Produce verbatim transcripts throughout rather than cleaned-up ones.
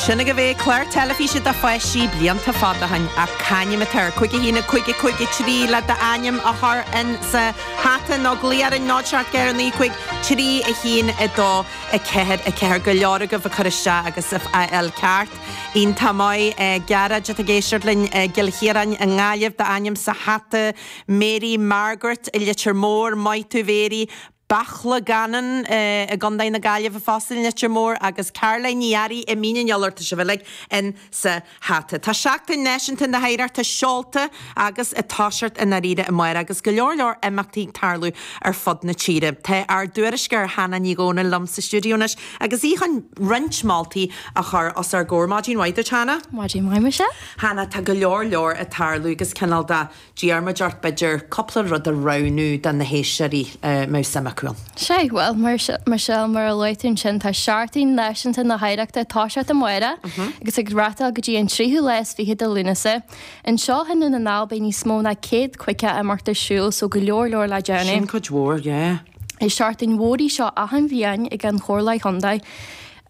Sin agaibh é clár teilifíse do pháistí blianta fada ó shin ach c'ainm atá air cúig a haon a cúig a cúig a trí le d'ainm a chur in sa hata nó glaoigh orainn náid seacht ceathair naoi cúig trí a haon a dó a ceathair a ceathair go leor agaibh ag cur isteach agus ag fáil ceart. Iontach maith Gearóid atá ag éisteacht linn i gCill Chiaráin i nGaillimh d'ainm sa hata Mary Margaret i Leitir Móir maith thú Mary Bachlagannan i gContae na Gaillimhe fosta i Leitir Móir agus Caroline Ní Fhearraigh i Mín an Iolair tá sibh uilig in sa hata. Tá Seachtain Náisiúnta na hOidhreachta seolta agus ag toiseacht i ndáiríre amárach agus go leor leor imeachtaí ag tarlú ar fud na tíre. Tá ár dtuairisceoir Hannah Ní Dhomhnaill liom sa stiúideo anois agus í chun roinnt moltaí a chur os ár gcomhair maidin mhaith duit Hannah. Maidin mhaith mise? Hannah tá go leor leor ag tarlú agus cineál de d'iarr muid ort b'fhéidir cúpla rud a roghnú do na héisteoirí mbeadh suim acu ann. Sé well mar Michelle mar a luaigh tú ansin tá Seachtain Náisiúnta na hOidhreachta ag toiseacht amárach agus ag reáchtáil go dtí an tríú lá is fiche de Lúnasa. Anseo i nDún na nGall beidh níos mó ná céad caoga imeacht ar siúl so go leor leor le déanamh. Sin cuid mhór, yeah. Is seachtain mhór í seo achan bhliain ag an Chomhairle Chontae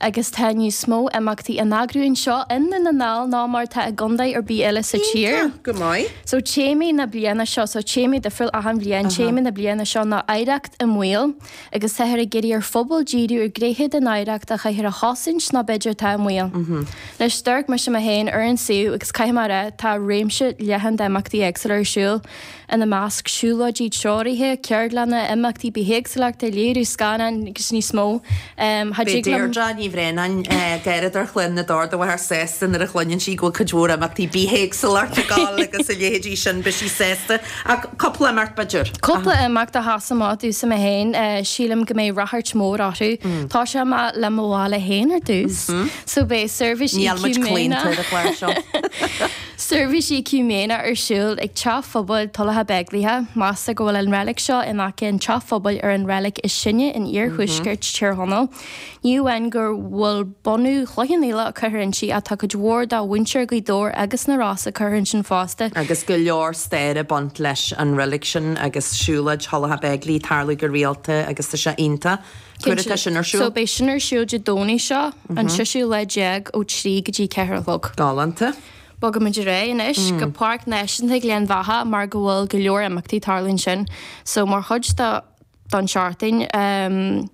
agus tá níos mó imeachtaí á n-eagrú anseo i nDún na nGall ná mar atá i gcontae ar bith eile sa tír. Go maith. So téamaí na bliana seo so téamaí difriúil achan bhliain téama na bliana seo ná oidhreacht i mbaol agus táthar ag iarraidh ar phobal díriú ar ghnéithe den oidhreacht a chaithfear a chosaint nó b'fhéidir atá i mbaol. Anois d'amharc mise mé féin ar an suíomh agus caithfidh mé a rá tá réimse leathan d'imeachtaí éagsúla ar siúl ina measc siúlóidí treoraithe, ceardlanna, imeachtaí bithéagsúlachta, léiriú scannán agus níos mó. Um, Beidh Deirdre Ní Bhraonáin Gairid ar Chlann na dTord a mháthair sásta nuair a chluineann sí go bhfuil cuid mhór imeachtaí bithéagsúlachta ag gabháil agus a leithéidí sin beidh sí sásta ach cúpla imeacht b'fhéidir. Cúpla imeacht a sheas amach domhsa mé féin sílim go mbeidh ráchairt mhór orthu. Tá sé ma le mo bhaile féin ar dtús. So beidh seirbhís Níl muid claonta ar an chlár seo. Seirbhís eacúiméine ar siúl ag Teach Phobail Tulacha Beigile, Meastar go bhfuil an reilig seo in aice an teach phobail ar an reilig is sine in iarthuaisceart Tír Chonaill. Ní amháin gur bhfuil bunadh Chloich Cheann Fhaola curtha inti ach tá cuid mhór de mhuintir Ghaoth Dobhair agus na Rosa curtha ansin fosta. Agus go leor staire ag baint leis an reilig sin agus siúlóid Thulacha Beigile tarlú go rialta agus tá sé iontach. Cuir atá sin ar siúl? So beidh sin ar siúl Dé Domhnaigh seo an seisiú lá déag ó trí go dtí ceathair a chlog. Galánta. Bogaimid ar aghaidh anois go Páirc Náisiúnta Ghleann Bheatha mar go bhfuil go leor imeachtaí tarlú ansin. So mar chuid de don seachtain um,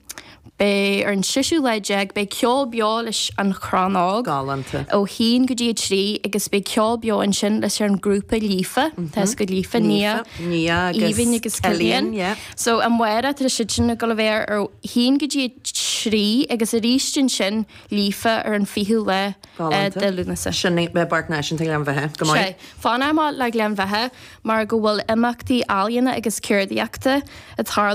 beidh ar an seisiú lá déag beidh ceol beo leis an Chrann Óg. Galánta. Ó haon go dtí a trí agus beidh ceol beo ansin leis an grúpa Líofa Tá go Líofa Nia Nia Aoibhinn agus Cillian. yeah. So amárach tá siad sin ag dul a bheith ar haon go dtí trí agus arís ansin Líofa ar an fichiú lá Galánta. de Lúnasa. Sin é Páirc Náisiúnta Ghleann Bheatha go maith. Sé, Fanaimid le Gleann Bheatha mar go bhfuil imeachtaí ealaíona agus ceardaíochta ag tarlú